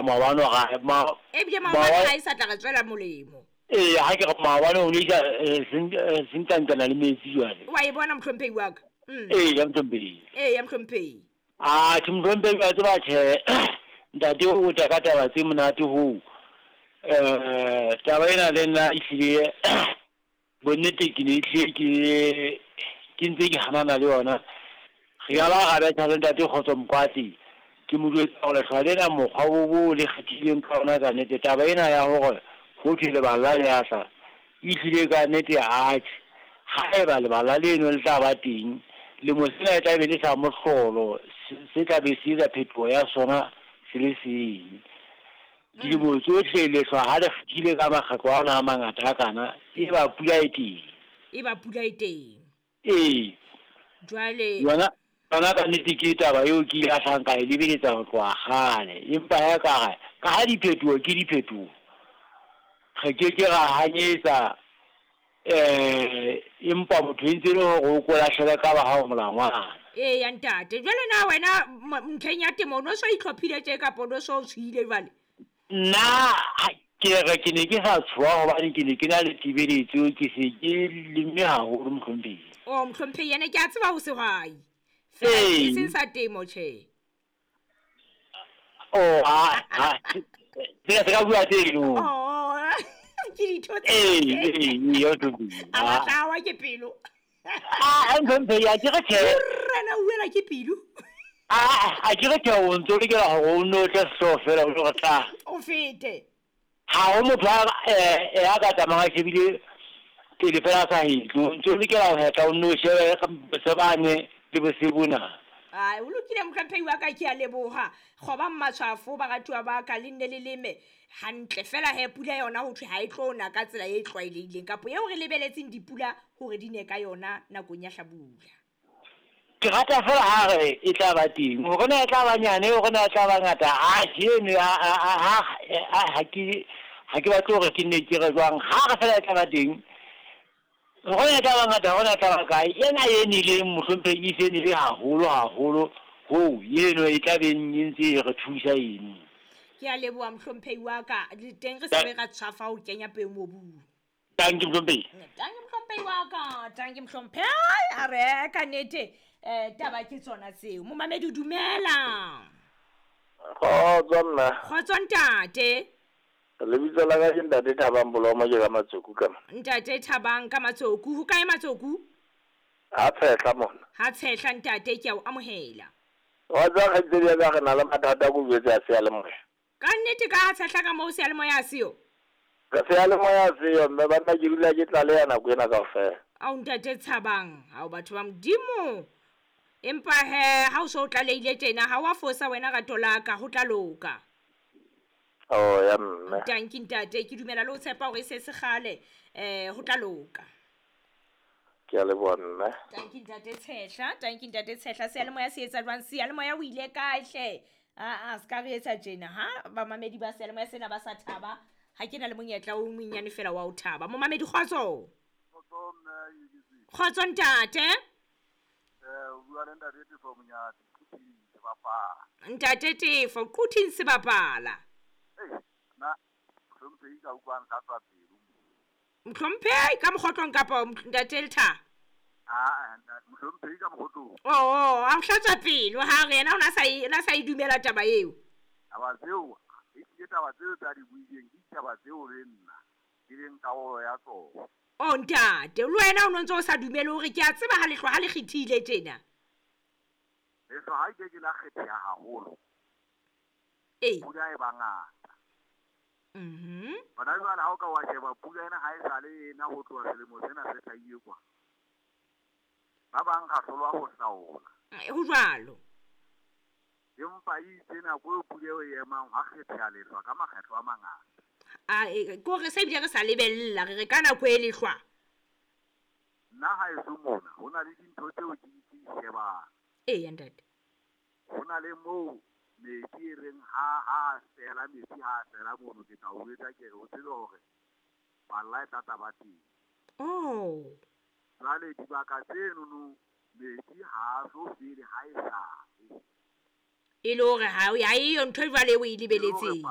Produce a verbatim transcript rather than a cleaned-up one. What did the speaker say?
Maobane hore ma Ebile maobane ha e sa tla re tswela molemo. Ee, ha ke re maobane o ne isa sentantana le metsi jwale. Wa e bona mohlomphehi wa ka? Mm. Ee, ya mohlomphehi. Ee, ya mohlomphehi. Ah, ke mohlomphehi wa tseba tjhe. Ntate o tla ka taba tse monate hoo. Eh, taba ena le nna ehlile bonnete ke ne ehlile ke ke ntse ke hanana le yona. Re ya ba ra betha le ntate Kgotso Mokgwatsi. Ke mo jwetsa hore lehlwa lena mokgwa o bo le kgethileng ka ona ka nnete taba ena ya hore ho thwe lebala le ya tla ehlile ka nnete atjhe. Haeba lebala leno le tla ba teng lemo sena e tla be le sa mohlolo se tla be se etsa phetoho ya sona se le seng. Dilemo tsohle lehlwa ha le kgethile ka makgetlo ana a mangata a kana e ba pula e teng. E ba pula e teng. Ee. Jwale yona yona ka nnete ke taba eo ke ilahlang ka e lebeletsa ho tloha kgale. Empa ha ka re ka ha diphetoho ke diphetoho, re ke ke ra hanyetsa eh empa motho e ntse le hore o ko lahlele ka ba hao molangwana. Ee ya ntate. Jwale na wena ntlheng ya temo o no so itlhophile tje kapa o no so o tshohile jwale? Nna ke re ke ne ke sa tshoha hobane ke ne ke na le tebeletso, ke se ke lemme haholo mohlomphehi. Oh mohlomphehi yena ke a tseba ho sehwai. Feela e seng sa temo tjhe. Oh ha ha se ka bua teng. Oh ke ditho tse. Ee ee yo mohlomphehi. A batla wa ke pelo. Ah mohlomphehi a ke re tjhe. Rena o wela ke pelo. Ah a ke re tjhe o ntso lokela hore o nno tle sehlooho fela o re tla. O fete. Ha ho motho a a ka tsamayang a shebile pele fela a sa hetle. O ntso lokela ho hetla o nno shebe sebane le bosebona. Ai o lokile mohlomphehi wa ka ke a leboha. Kgoba matshwafo baratuwa ba ka le nne le leme hantle fela he pula yona ho thwe ha e tlo na ka tsela e tlwaelehileng kapo eo re lebeletseng dipula hore di ne ka yona nakong ya hlabula. Ke rata fela ha re e tla ba teng. Hore na e tla ba nyane, hore na e tla ba ngata, ha eno ha ha ke ha ke batle hore ke nne ke re jwang. Ha re fela e tla ba teng. Hore na e tla ba ngata, hore na e tla ba kae. Ena e nileng mohlomphehi e se nile haholo haholo hoo eno e tla beng e ntse e re thusa eno. Ke a leboha mohlomphehi wa ka. Le teng re se re ra tshwafa ho kenya peo mobung. Tanki mohlomphehi. Tanki mohlomphehi wa ka, tanki mohlomphehi. A re ka nnete eh taba ke tsona tseo. Momamedi dumela. Kgotso mme. Kgotso ntate. Lebitso la ka ke Ntate Thabang Bolomo ke ka Matsoku ka. Ntate Thabang ka Matsoku, ho kae Matsoku? Ha tshehla mona. Ha tshehla ntate ke a o amohela. Wa tsa kgaitsedi ya ka re na le mathata ko jwetse a seyalemoya. Ka nnete ka ha tshehla ka moo seyalemoya a seo? Ka seyalemoya a seo mme banna ke dula ke tlaleha nako ena kaofela. Ao ntate Thabang, hao batho ba Modimo. Empa he ha o so tlalehile tjena ha wa fosa wena rato la ka ho tla loka. Oh ya mme. Tanki ntate ke dumela le ho tshepa hore se se kgale eh ho tla loka. Ke a leboha mme. Tanki ntate Tshehla, tanki ntate Tshehla seyalemoya se etsa jwang? Seyalemoya o ile kae hle? Ah ah ska re etsa tjena ha bamamedi ba seyalemoya sena ba sa thaba. Ha ke na le monyetla o monyane fela wa ho thaba. Momamedi kgotso. Kgotso mme. Kgotso ntate. Eh o bua le ntate Tefo Monyati Quthing sebapala. Ntate Tefo Quthing sebapala. Eh na mohlomphehi ka utlwang hlatswa pelo. Mohlomphehi ka mokgotlong kapa ntate Letha? Ah mohlomphehi ka mokgotlong. Oh oh a hlatswa pelo ha re yena o na sa e na sa e dumela taba eo. Taba tseo e ke taba tseo tsa di buileng ke taba tseo le nna ke leng karolo ya tsona. Oh ntate, le wena o ntse o sa dumele hore ke a tseba ha lehlwa ha le kgethile tjena. Lehlwa ha ke ke la kgetheha haholo. Ee. Pula e ba ngata. Mhm. Hona jwale ha o ka wa sheba pula ena ha e sale ena ho tloha selemo sena se hlahile kwa. Ba bang ra hlolwa ho hlaola. Ho jwalo. Empa itse nako eo pula eo e emang ha kgetheha lehlwa ka makgetlo a mangata. A ko re se bile re sa lebella re re ka nako e lehlwa. Nna ha eso mona ho na le dintho tseo ke di shebang. Ee ntate. Ho na le moo metsi e reng ha ha fela metsi ha fela mono ke tla o jwetsa ke re o tsebe hore balla e tla tla ba teng. Oh. Jwale dibaka tsenono metsi ha so fele ha e sale. E le hore ha e yo ntho e jwale o e lebeletseng.